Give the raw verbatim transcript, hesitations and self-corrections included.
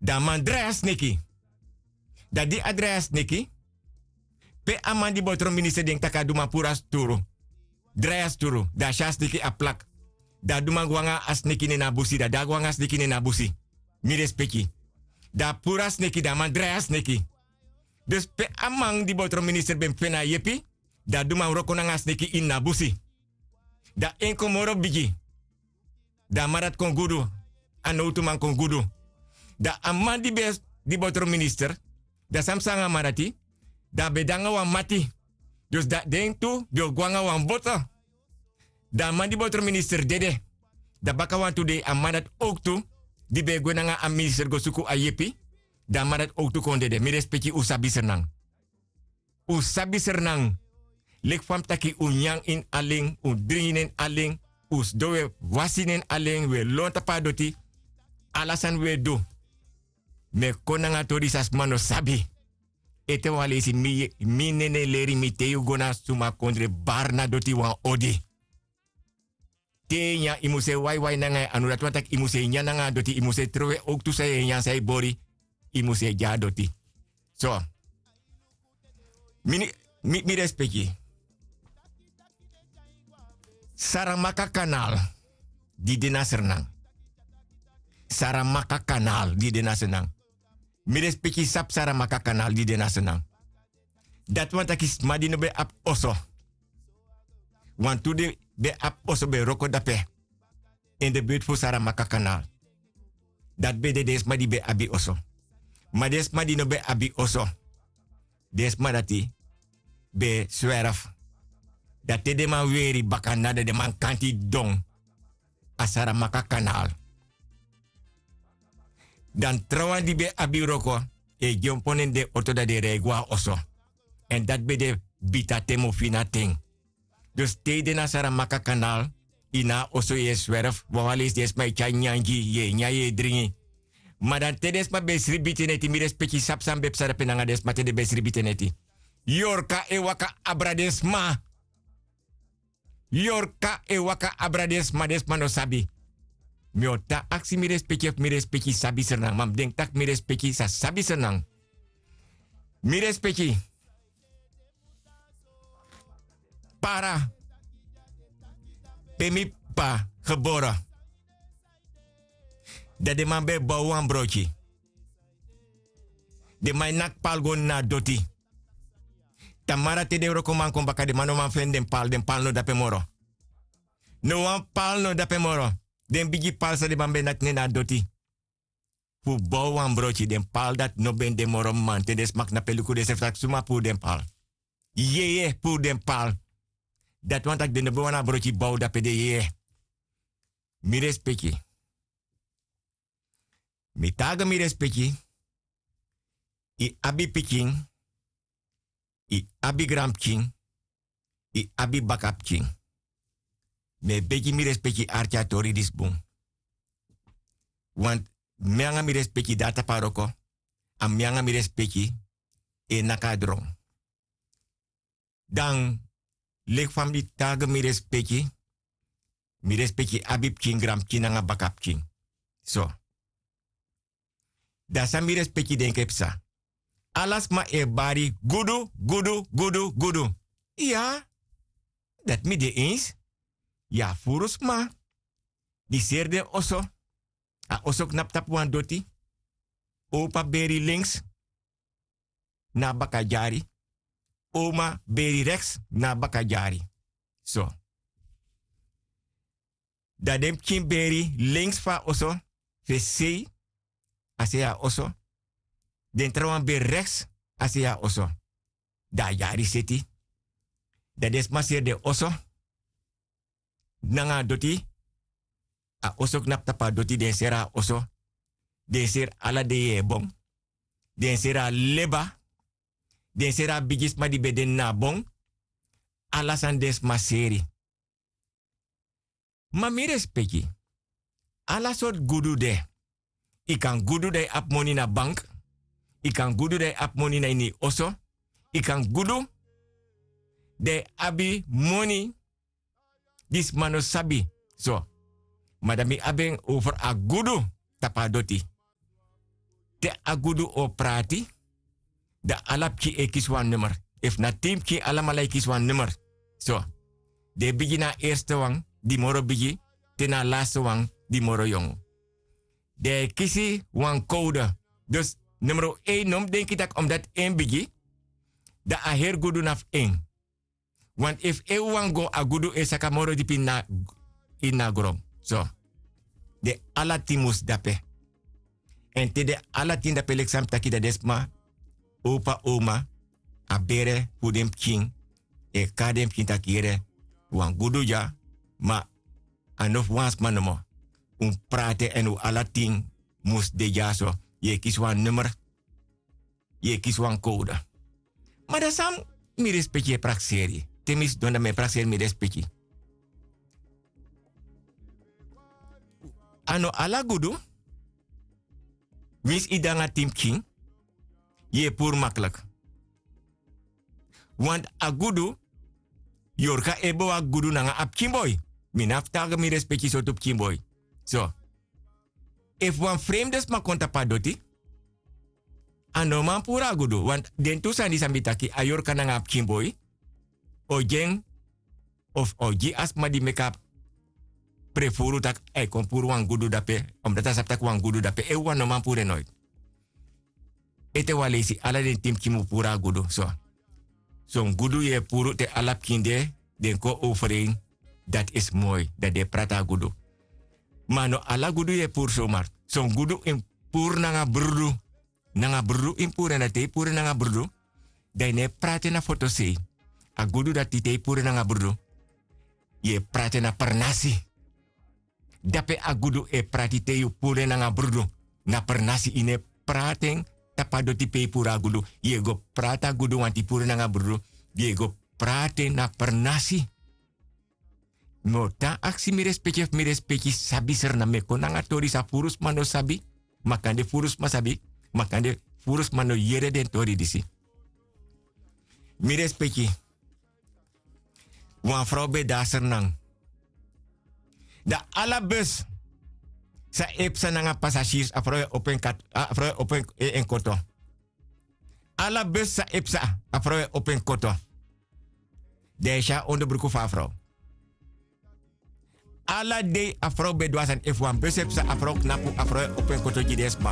Dan a man drai a sneki. Dan di a drai a sneki, pe a man di botro minister denki tak' a du man puru a sturu, drai a sturu, dan a si a sneki a plak. Dan a du man go nanga a sneki nen na a busi dan di a go nanga a sneki nen na a busi, mi respeki. Dan a puru a sneki dan a man drai a sneki. Dus pe a man di botro minister ben feni a yepi, dan a du man wroko nanga a sneki ini na a busi. Dan en kon moro bigi. Dan a man dati kon gudu. A nowtuman kon gudu. Dan a man di ben di botro minister, dan san psa nanga a man dati? Dan a ben de nanga wan mati. Dus dan den tu ben o go nanga wan boto. Dan a man di botro minister dede. Dan baka wantu dei a man dati owktu, di ben e gwe nanga a minister go suku a yepi, dan a man dati owktu kon dede. Mi respeki, un sabi srnan. Un sabi srnan. Leki fa mi taki, un nyan ini alen, un dringi na ini alen, un sidon, un e wasi na ini alen, un e lon tapu a doti. Ala sani un e du. Mi e kon nanga tori san sma no sabi. Ete wan leisi, mi nene leri mi, te yu go na suma kondre, bari na doti wan odi. Te yu e nyan, yu mus e waiwai nanga en anu. Dati wani taki yu mus e nyan nanga a doti, yu mus e trowe owktu san yu e nyan, san yu bori, yu mus e gi a doti. So, mi, mi respeki. Saramaka kanal di de na Sranan. Saramaka kanal di de na Sranan. Mi respeki, sabi Saramaka kanal di de na Sranan. Dati wani taki sma di no ben abi oso. Wantu den ben abi oso ben wroko dape. In de buurt fu Saramaka kanal. Dati ben de den sma di ben abi oso. Ma den sma di no ben abi oso, den sma dati ben swerf. Dan te den man weri baka na den, den man kanti didon a Saramaka kanal. Dan trawan di ben abi wroko e dyompo na den oto, dan den e rei go na oso. Èn dati ben de bita ten, mofina ten. Dus te yu de na Saramaka kanal, yu na a oso, yu e swerf, wawan leisi den sma e tyari nyanyan gi yu, yu e nyan, yu e dringi. Ma dan te den sma ben e sribi te neti, mi respeki, sabi san ben psa dape nanga den sma te den ben e sribi te neti? Yorka e waka abra den sma. Yorka e waka abra den sma, den sma no sabi. Mi o tan aksi mi respeki efu mi respeki sabi Sranan, ma mi denki tak' mi respeki sa sabi Sranan. Mi respeki. Para, pe mi p'pa gebore. Dan den man ben e bow wan brokyi. Den man e naki pal go na doti. Tamara te den wrokoman kon baka, den man no man feni den pal, den pal no dape moro. No wan pal no dape moro. Den bigi pal san den man ben e naki nen na doti fu bow wan brokyi, den pal dati no ben de moro. Mamanten den sma knapu e luku densrefi tak' suma puru den pal. Yeye puru den pal. Dati wani tak' den no ben wani a brokyi bow dape, den yeye. Mi respeki. Mi taigi mi respeki. Yu abi pikin, yu abi granpikin, yu abi bakapikin. Mi e begi mi respeki, arki a tori disi bun. Want mi nanga mi respeki de na tapu a wroko, a mi nanga mi respeki e naki a dron. Dan leki fa mi taigi mi respeki, mi respeki abi pikin, granpikin nanga bakapikin. So, dan san mi respeki denki e psa? Ala sma e bari gudu, gudu, gudu, gudu. Iya, dati mi de eens. Yu abi furu sma di seri den oso. A oso knapu tapu wan doti. Opa beri links na a bakadyari. Oma beri reks na a bakadyari. So, dan den pikin beri links fu a oso, fu e sei a sei a oso. Den trawan beri reks a sei a oso. Dan a dyari seti. Dan den sma seri den oso nanga a doti. A oso knapu tapu a doti, den seri a oso. Den seri ala den yeye bon. Den seri a leba. Den seri a bigisma di ben de na a bon. Ala sani den sma seri. Ma mi respeki, ala sortu gudu de. Yu kan gudu dan yu abi moni na bank. Yu kan gudu dan yu abi moni na ini yu oso. Yu kan gudu dan yu abi moni di sma no sabi. So, ma dan mi abi en over a gudu tapu a doti. te a gudu o prati, dan ala pikin e kisi wan nummer. Efu na tin pikin alamala e kisi wan nummer. So, den e bigin na a erste wan di moro bigi, te na a laste wan di moro yongu. Den e kisi wan kowde. Dus numero ein no mus denki tak' omdati en bigi, dan a heri gudu na fu en. Want efu en wawan go, a gudu e saka moro dipi ini a gron. So, den ala tin mus de ape. Èn te den ala tin de ape, leki san mi taki, dan den sma, opa, oma, a bere fu den pikin, e kari den pikin taki yere, wan gudu dya, ma a no fu wan sma nomo. Un prati en, èn un ala tin mus de dyaso. Yu e kisi wan nummer, yu e kisi wan kowde. Ma dan san mi respeki e prakseri? Te mi sidon dan mi e prakseri mi respeki. A no ala gudu, winsi yu de nanga tin pikin, yu e puru makliki. Want a gudu, yorka e bewaki gudu nanga a pikin boi. Mi no abi fu taigi mi respeki sortu pikin boi. So, efu wan fremde sma kon tapu a doti, a no man puru a gudu. Want den tu sani san mi taki, a yorka nanga a pikin boi, o gi en, of o gi a sma di meki a prefuru tak' a e kon puru wan gudu dape, omdati a sabi tak' wan gudu dape, en wawan no man puru en noiti. Ete wan leisi ala den tin pikin mu puru a gudu. So, son gudu yu e puru te ala pikin de, den kon overeen, dati isi moi, dan den e prati a gudu. Ma no ala gudu yu e puru somar. Son gudu yu mus puru nanga brudu. Nanga brudu yu mus puru en, dan te yu puru en nanga brudu, dan yu no e prati en na fotosei. A gudu dati te yu puru en nanga brudu, yu e prati en na pernasi. Dape a gudu e prati te yu puru en nanga brudu. Na pernasi, yu no e prati en tapu a doti pe yu puru a gudu. Yu e go prati a gudu wanti yu puru en nanga brudu. Yu e go prati en na pernasi. Mi o tan aksi mi respeki, efu mi respeki sabi srna, mi e kon nanga tori san furu sma no sabi. Ma kande furu sma sabi, ma kande furu sma no yere den tori disi. Mi respeki. Wan frow ben de na Sranan. Dan ala bus san e psa nanga pasasirs, a frow e opo en kat, a frow e opo en, en koto. Ala bus san e psa, a frow e opo en koto. Dan yu e si a onderbruku fu a frow. Ala dei a frow ben du a sani, efu wan bus e psa, a frow knapu, a frow e opo en koto gi den sma.